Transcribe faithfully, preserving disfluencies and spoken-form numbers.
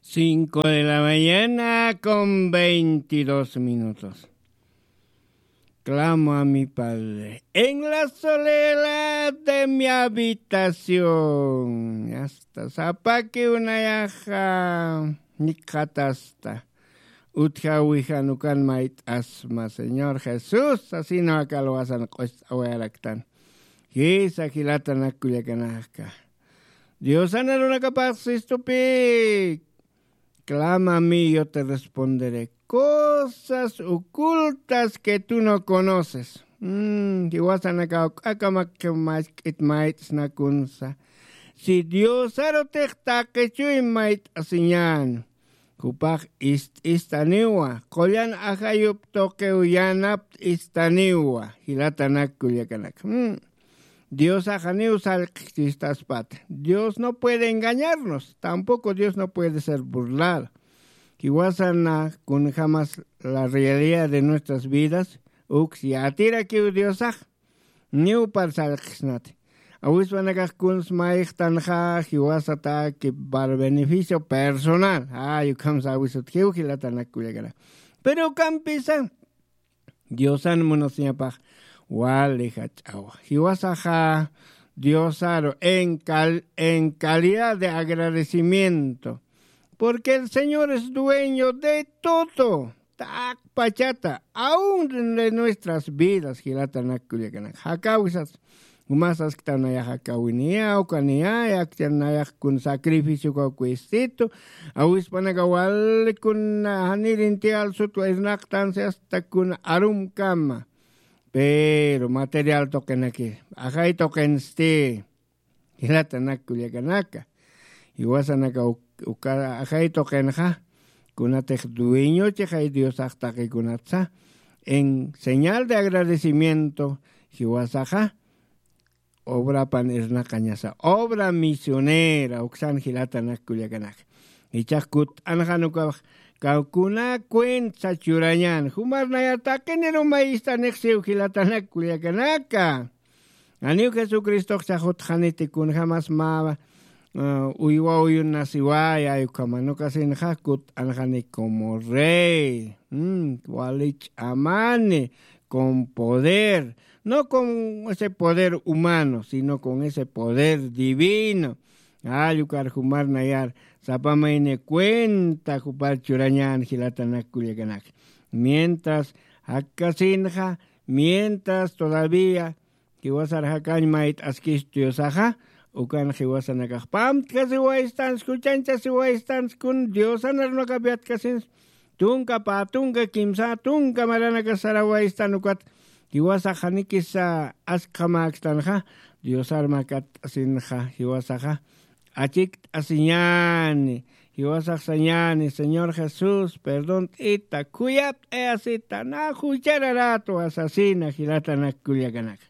Cinco de la mañana con veintidós minutos. Clamo a mi Padre en la soledad de mi habitación. Hasta sapaki unayaxa nikxatasta. Utjawijan ukan mayt'asma Señor Jesús asino akalwasan q'ust'awayaraktan. Jisa jilatanak kullakanaka. Diosan arunakapax sistupi. Clama a mí, yo te responderé. Cosas ocultas que tú no conoces. Mm, jiwasanakaw k'akamak mask'it mayt'snakunsa. Si Diosarutix taqichuy mayt'asiñan. Jupax ist'istaniwa qullan ajayup tuqiw yanapt istaniwa. Jilatanak kullakanaka. Mm. Diosax janiw sallq'kchistaspata. Dios no puede engañarnos, tampoco Dios no puede ser burlado. Jiwasana kunjamas la realidad de nuestras vidas uks yatirakiw Diosax. Niw par sallq'ksnati. Awispanakax kuns mayxtanxa jiwasataki par beneficio personal. Ay ukham sawisut jiw jilatanak kullakana. Pero ukampisa Diosan munasiñapax wali jach'awa. Jiwasaxa Diosaru en, cal, en calidad de agradecimiento. Porque el Señor es dueño de todo. Takpachata, aún de nuestras vidas jilatanak kullakanak. Jakawisas umasaskta nayax akawiniya ukaniya yakchan nayax kun sacrificio kawkwistitu. Awispanaka wali kun janirinti alsutwa irnaqtansi asta kun arumkama. Pero material tuqinaki ajay tuqinsti. Jilatanak kullakanaka. Jiwasanaka uka ajay tuqinxa kunatix dueñochixay diosax taqikunatsa. En señal de agradecimiento jiwasaxa obrapan irnaqañasa obra misionera uksan jilatanak kullakanaka. Ichax kut'anxanukax kawkuna cuentsa churañan jumarnayar taqinirumay istanixsiw jilatanak kullakanaka. Aniw jesucristox chajutxaniti kunjamas mä uywa uyunasiwaya ayukhama nukasinxa kut'anxani como rey. Wali ch'amani con poder, no con ese poder humano sino con ese poder divino. Allukar jumarnayar sapamayni cuenta jupar churañan jilatanak kullakanak. Mientras jakkasinxa mientras todavía jiwasar jakañ mayt'askis diosaxa ukan jiwasanakax pamtkasiwaystans juchañchasiwaystans kun diosanar nukapyatkasins tunka pä tunka kimsa tunka maranakas sarawaystan ukat jiwasax janikisa askxamäkstanxa diosar makat'asinxa jiwasaxa achikt'asiñäni jiwasax sañäni señor jesús perdont'ita khuyapt'ayasita na juchararätwa sasina jilatanak kullakanaka.